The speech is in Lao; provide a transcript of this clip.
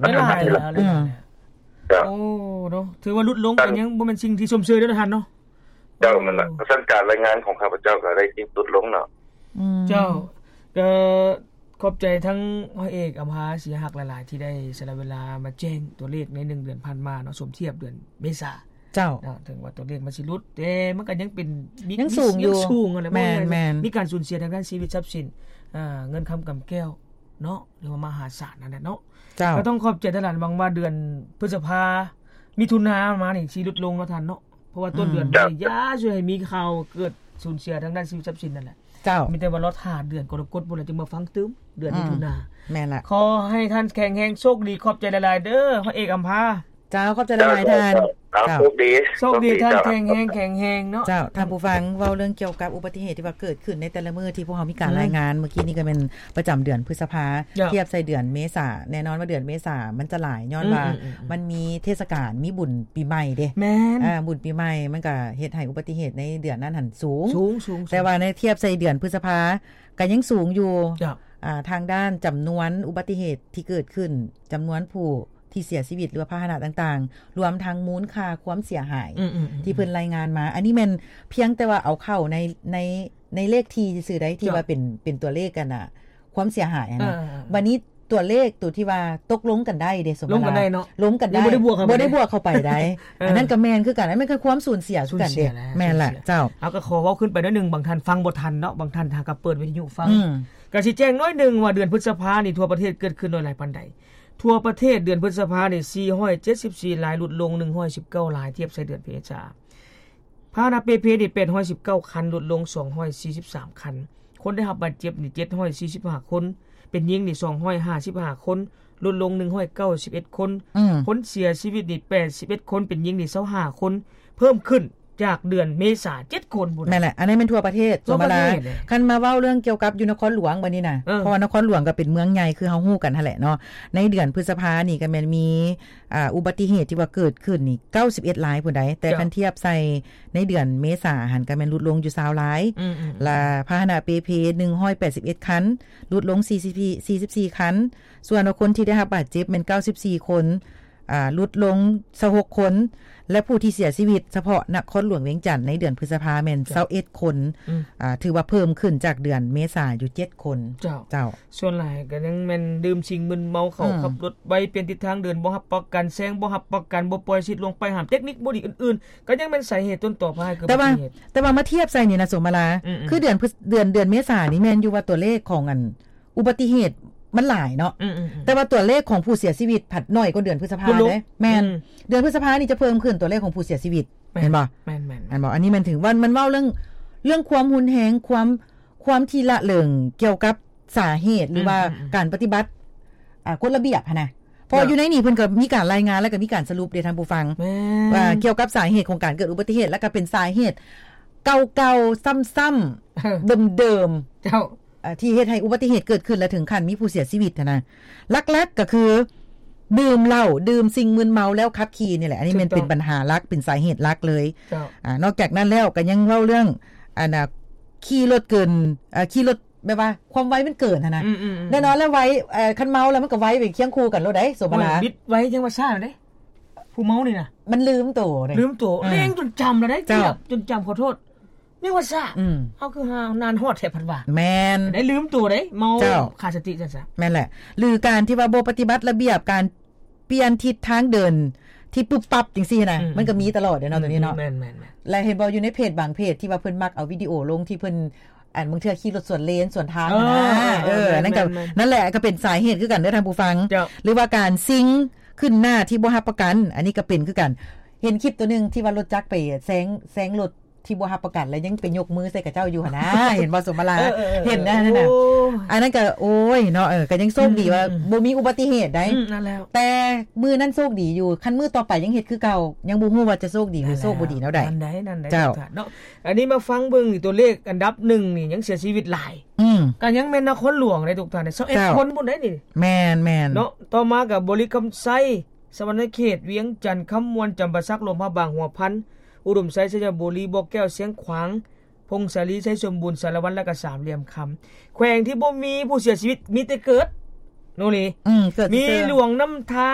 ຫຼາຍແລ້ວ ເຈົ້າ ໂອ້ ເນາະ ຖືວ່າຫຼຸດລົງ ກໍຍັງບໍ່ແມ່ນສິ່ງທີ່ຊົມເຊີຍເດ້ທ່ານເນາະ. ເຈົ້າ ແມ່ນລະ ເພາະສະນັ້ນການລາຍງານຂອງຂ້າພະເຈົ້າກໍໄດ້ຫຼຸດລົງເນາະ. ເຈົ້າ ກໍຂອບໃຈທັງຮ້ອຍເອກອຳພາ ສີຫະຫັກ ຫຼາຍໆ ທີ່ໄດ້ສະຫຼະເວລາມາແຈ້ງຕົວເລກໃນໜຶ່ງເດືອນຜ່ານມາເນາະ ສົມທຽບເດືອນເມສາ. ເຈົ້າ ເນາະ ເຖິງວ່າຕົວເລກມັນຊິຫຼຸດ ແຕ່ມັນກໍຍັງເປັນ ມີ ຍັງສູງຢູ່ ຍັງສູງຫັ້ນແຫຼະ. ແມ່ນໆ ມີການສູນເສຍທາງດ້ານຊີວິດຊັບສິນ ເງິນຄຳກຳແກ້ວເນາະ ຫຼືວ່າມະຫາສານນັ້ນແຫຼະເນາະ. ເຈົ້າ ກໍຕ້ອງຂອບໃຈທ່ານຫຼາຍ ຫວັງວ່າເດືອນພຶດສະພາ ມິຖຸນາມານີ້ຊິຫຼຸດລົງເນາະທ່ານເນາະ ເພາະວ່າຕົ້ນເດືອນນີ້ ຢ່າຊ່ວຍໃຫ້ມີຂ່າວເກີດສູນເສຍທາງດ້ານຊີວິດຊັບສິນນັ້ນແຫຼະ. ເຈົ້າ ມີແຕ່ວ່າລໍຖ້າເດືອນກໍລະກົດພຸ້ນລະ ຈຶ່ງມາຟັງຕື່ມເດືອນມິຖຸນາ. ແມ່ນລະ ຂໍໃຫ້ທ່ານແຂງແຮງ ໂຊກດີ ຂອບໃຈຫຼາຍໆເດີ ຮ້ອຍເອກອຳພາ. ເຈົ້າ ຂອບໃຈຫຼາຍໆທ່ານ. ເຈົ້າ ໂຊກດີ ໂຊກດີທ່ານ ແຂງແຮງ ແຂງແຮງເນາະ. ເຈົ້າ ທ່ານຜູ້ຟັງ ເວົ້າເລື່ອງກ່ຽວກັບອຸບັດຕິເຫດທີ່ວ່າເກີດຂຶ້ນໃນແຕ່ລະມື້ທີ່ພວກເຮົາມີການລາຍງານ ມື້ກີ້ນີ້ກໍແມ່ນປະຈຳເດືອນພຶດສະພາ ທຽບໃສ່ເດືອນເມສາ ແນ່ນອນວ່າເດືອນເມສາມັນຈະຫຼາຍ ຍ້ອນວ່າມັນມີເທດສະການ ມີບຸນປີໃໝ່ເດ້. ແມ່ນ ບຸນປີໃໝ່ມັນກໍເຮັດໃຫ້ອຸບັດຕິເຫດໃນເດືອນນັ້ນຫັ້ນສູງ ສູງໆ ແຕ່ວ່າໃນທຽບໃສ່ເດືອນພຶດສະພາກໍຍັງສູງຢູ່. ທາງດ້ານຈຳນວນອຸບັດຕິເຫດທີ່ເກີດຂຶ້ນ ຈຳນວນຜູ້ ທີ່ເສຍຊີວິດ ຫຼືວ່າພາຫະນະຕ່າງໆ ລວມທັງມູນຄ່າຄວາມເສຍຫາຍທີ່ເພິ່ນລາຍງານມາ ອັນນີ້ແມ່ນພຽງແຕ່ວ່າເອົາເຂົ້າໃນ ໃນ ໃນເລກທີຊື່ໆໃດ໋ ທີ່ວ່າເປັນ ເປັນຕົວເລກອັນນ່າ ຄວາມເສຍຫາຍຫັ້ນນະ. ບາດນີ້ຕົວເລກໂຕທີ່ວ່າຕົກລົງກັນໄດ້ເດ້ ສົມມຸດວ່າ ລົງກັນໄດ້ເນາະ ລົງກັນໄດ້ ບໍ່ໄດ້ບວກເຂົ້າໄປ ບໍ່ໄດ້ບວກເຂົ້າໄປໄດ້. ອັນນັ້ນກໍແມ່ນຄືກັນ ອັນນັ້ນກໍຄວາມສູນເສຍຄືກັນເດ້. ແມ່ນລະ ເຈົ້າ ເຮົາກໍຂໍເວົ້າຂຶ້ນໄປໜ້ອຍໜຶ່ງ ບາງທ່ານຟັງບໍ່ທັນເນາະ ບາງທ່ານຫາກໍເປີດວິທະຍຸຟັງ. ກໍຊິແຈ້ງໜ້ອຍໜຶ່ງວ່າເດືອນພຶດສະພານີ້ທົ່ວປະເທດເກີດຂຶ້ນຫຼາຍປານໃດ. ທົ່ວປະເທດເດືອນພຶດສະພານີ້ ສີ່ຮ້ອຍເຈັດສິບສີ່ລາຍ ຫຼຸດລົງໜຶ່ງຮ້ອຍສິບເກົ້າລາຍ ທຽບໃສ່ເດືອນເມສາ. ພາຫະນະເປ່ເພນີ້ ແປດຮ້ອຍສິບເກົ້າຄັນ ຫຼຸດລົງສອງຮ້ອຍສີ່ສິບສາມຄັນ. ຄົນໄດ້ຮັບບາດເຈັບນີ້ ເຈັດຮ້ອຍສີ່ສິບຫ້າຄົນ ເປັນຍິງນີ້ ສອງຮ້ອຍຫ້າສິບຫ້າຄົນ ຫຼຸດລົງໜຶ່ງຮ້ອຍເກົ້າສິບເອັດຄົນ. ຄົນເສຍຊີວິດນີ້ ແປດສິບເອັດຄົນ ເປັນຍິງນີ້ ຊາວຫ້າຄົນ ເພີ່ມຂຶ້ນຈາກເດືອນເມສາ ເຈັດຄົນພຸ້ນ. ແມ່ນແຫຼະ ອັນນີ້ແມ່ນທົ່ວປະເທດ. ສ່ວນເວລາ ຄັນມາເວົ້າເລື່ອງກ່ຽວກັບຢູ່ນະຄອນຫຼວງບາດນີ້ນະ ເພາະວ່ານະຄອນຫຼວງກໍເປັນເມືອງໃຫຍ່ ຄືເຮົາຮູ້ກັນຫັ້ນແຫຼະເນາະ. ໃນເດືອນພຶດສະພານີ້ກໍແມ່ນມີ ອາ ອຸບັດຕິເຫດທີ່ວ່າເກີດຂຶ້ນນີ້ ເກົ້າສິບເອັດລາຍພຸ້ນໃດ໋ ແຕ່ຄັນທຽບໃສ່ໃນເດືອນເມສາຫັ້ນ ກໍແມ່ນຫຼຸດລົງຢູ່ຊາວລາຍ. ລະພາຫະນະເປ່ເພ ໜຶ່ງຮ້ອຍແປດສິບເອັດຄັນ ຫຼຸດລົງສີ່ສິບສີ່ຄັນ. ສ່ວນວ່າຄົນທີ່ໄດ້ຮັບບາດເຈັບແມ່ນເກົ້າສິບສີ່ຄົນ ອາ ຫຼຸດລົງຊາວຫົກຄົນ ແລະ ຜູ້ທີ່ເສຍຊີວິດສະເພາະນະຄອນຫຼວງວຽງຈັນໃນເດືອນພຶດສະພາແມ່ນຊາວເອັດຄົນ. ອາ ຖືວ່າເພີ່ມຂຶ້ນຈາກເດືອນເມສາຢູ່ເຈັດຄົນ. ເຈົ້າ ສ່ວນຫຼາຍກໍຍັງແມ່ນດື່ມສິ່ງມຶນເມົາ ເຂົ້າຂັບລົດໄວ ປ່ຽນທິດທາງເດີນບໍ່ຮັບປະກັນ ແຊງບໍ່ຮັບປະກັນ ບໍ່ປ່ອຍສິດ ລ່ວງປ້າຍຫ້າມ ເຕັກນິກບໍ່ດີອື່ນໆ ກໍຍັງແມ່ນສາເຫດຕົ້ນຕໍພາໃຫ້ເກີດອຸບັດຕິເຫດ. ແຕ່ວ່າມາທຽບໃສ່ນີ້ນະ ສົມມະລາ ຄືເດືອນ ເດືອນ ເດືອນເມສານີ້ແມ່ນຢູ່ວ່າຕົວເລກຂອງອັນ ອຸບັດຕິເຫດມັນຫຼາຍເນາະ ແຕ່ວ່າຕົວເລກຂອງຜູ້ເສຍຊີວິດພັດໜ້ອຍກວ່າເດືອນພຶດສະພາເດ້. ແມ່ນ ເດືອນພຶດສະພານີ້ຈະເພີ່ມຂຶ້ນຕົວເລກຂອງຜູ້ເສຍຊີວິດ. ແມ່ນບໍ່? ແມ່ນໆ ແມ່ນບໍ່? ອັນນີ້ແມ່ນຖືວ່າມັນເວົ້າເລື່ອງ ເລື່ອງຄວາມຮຸນແຮງ ຄວາມ ຄວາມທີ່ລະເລີງກ່ຽວກັບສາເຫດ ຫຼືວ່າການປະຕິບັດ ອາ ກົດລະບຽບຫັ້ນນະ. ເພາະຢູ່ໃນນີ້ເພິ່ນກໍມີການລາຍງານ ແລ້ວກໍມີການສະຫຼຸບເດ້ທ່ານຜູ້ຟັງ ວ່າກ່ຽວກັບສາເຫດຂອງການເກີດອຸບັດຕິເຫດ ແລ້ວກໍເປັນສາເຫດເກົ່າໆ ຊ້ຳໆ ເດີມໆ ເຈົ້າ ທີ່ເຮັດໃຫ້ອຸບັດຕິເຫດເກີດຂຶ້ນ ແລະ ເຖິງຂັ້ນມີຜູ້ເສຍຊີວິດຫັ້ນນະ. ຫຼັກໆ ກໍຄືດື່ມເຫຼົ້າ ດື່ມສິ່ງມຶນເມົາແລ້ວຂັບຂີ່ນີ້ແຫຼະ. ອັນນີ້ແມ່ນເປັນບັນຫາຫຼັກ ເປັນສາເຫດຫຼັກເລີຍ. ນອກຈາກນັ້ນແລ້ວກໍຍັງເວົ້າເລື່ອງ ອັນນ່າ ຂີ່ລົດເກີນ ອາ ຂີ່ລົດ ແບບວ່າຄວາມໄວມັນເກີນຫັ້ນນະ. ແນ່ນອນແລ້ວໄວ ຄັນເມົາແລ້ວມັນກໍໄວໄປຄຽງຄູ່ກັນໂລດໃດ໋ ສົມມະລາ. ບິດໄວຈັ່ງວ່າຊ້າເດ້ ຜູ້ເມົານີ້ນະ ມັນລືມໂຕເດ້ ລືມໂຕ ແລ່ນຈົນຈຳແລ້ວໄດ໋ ເຈົ້າ ເກືອບຈົນຈຳ ຂໍໂທດ ຍັງວ່າຊ້າ. ເຮົາຄືຫານານຮອດແທ້ພັດວ່າ. ແມ່ນ ໄດ້ລືມໂຕເດ້ ເມົາຂາດສະຕິຊັ້ນຊະ. ແມ່ນແຫຼະ ຫຼືການທີ່ວ່າບໍ່ປະຕິບັດລະບຽບ ການປ່ຽນທິດທາງເດີນທີ່ປຶບປັບຈັ່ງຊີ້ນະ ມັນກໍມີຕະຫຼອດເດ້ເນາະ ໂຕນີ້ເນາະ. ແມ່ນໆໆ ແລະ ເຫັນບໍ່ ຢູ່ໃນເພຈບາງເພຈທີ່ວ່າເພິ່ນມັກເອົາວິດີໂອລົງ ທີ່ເພິ່ນ ອັນບາງເທື່ອຂີ່ລົດສວນເລນສວນທາງຫັ້ນນະ. ເອີ ເອີ ເອີ ນັ້ນກໍ ນັ້ນແຫຼະ ກໍເປັນສາເຫດຄືກັນເດີທ່ານຜູ້ຟັງ. ຫຼືວ່າການຊິງຂຶ້ນໜ້າທີ່ບໍ່ຮັບປະກັນ ອັນນີ້ກໍເປັນຄືກັນ. ເຫັນຄລິບໂຕໜຶ່ງທີ່ວ່າລົດຈັກໄປແຊງ ແຊງລົດທີ່ບໍ່ຮັບປະກັນ ແລ້ວຍັງໄປຍົກມືໃສ່ຂະເຈົ້າຢູ່ຫັ້ນນະ. ເຫັນບໍ່ ສົມມະລາ? ເອີ ເອີ ເອີ ເຫັນນະ ອັນນັ້ນກໍ ໂອ້ຍເນາະ ເອີ ກໍຍັງໂຊກດີວ່າບໍ່ມີອຸບັດຕິເຫດໃດ໋. ແຕ່ມື້ນັ້ນໂຊກດີຢູ່ ຄັນມື້ຕໍ່ໄປຍັງເຮັດຄືເກົ່າ ຍັງບໍ່ຮູ້ວ່າຈະໂຊກດີ ຫຼືໂຊກບໍ່ດີແນວໃດ. ນັ້ນໃດ໋ ນັ້ນໃດ໋ ເຈົ້າ ເນາະ. ອັນນີ້ມາຟັງເບິ່ງນີ້ ຕົວເລກອັນດັບໜຶ່ງນີ້ຍັງເສຍຊີວິດຫຼາຍ ກໍຍັງແມ່ນນະຄອນຫຼວງເດ້ທຸກທ່ານ ຊາວເອັດຄົນພຸ້ນເດ້ນີ້. ແມ່ນໆ ເນາະ. ຕໍ່ມາກໍບໍລິຄຳໄຊ ສະຫວັນນະເຂດ ວຽງຈັນ ຄຳມ່ວນ ຈຳປາສັກ ຫຼວງພະບາງ ຫົວພັນ ອຸດົມໄຊ ໄຊຍະບູລີ ບໍ່ແກ້ວ ຊຽງຂວາງ ຜົ້ງສາລີ ໄຊສົມບູນ ສາລະວັນ ແລະກໍສາມຫຼ່ຽມຄຳ. ແຂວງທີ່ບໍ່ມີຜູ້ເສຍຊີວິດ ມີແຕ່ເກີດ ໂນເລ ອືມ ເກີດ ມີ ເຊີງ ຫຼວງນ້ຳທາ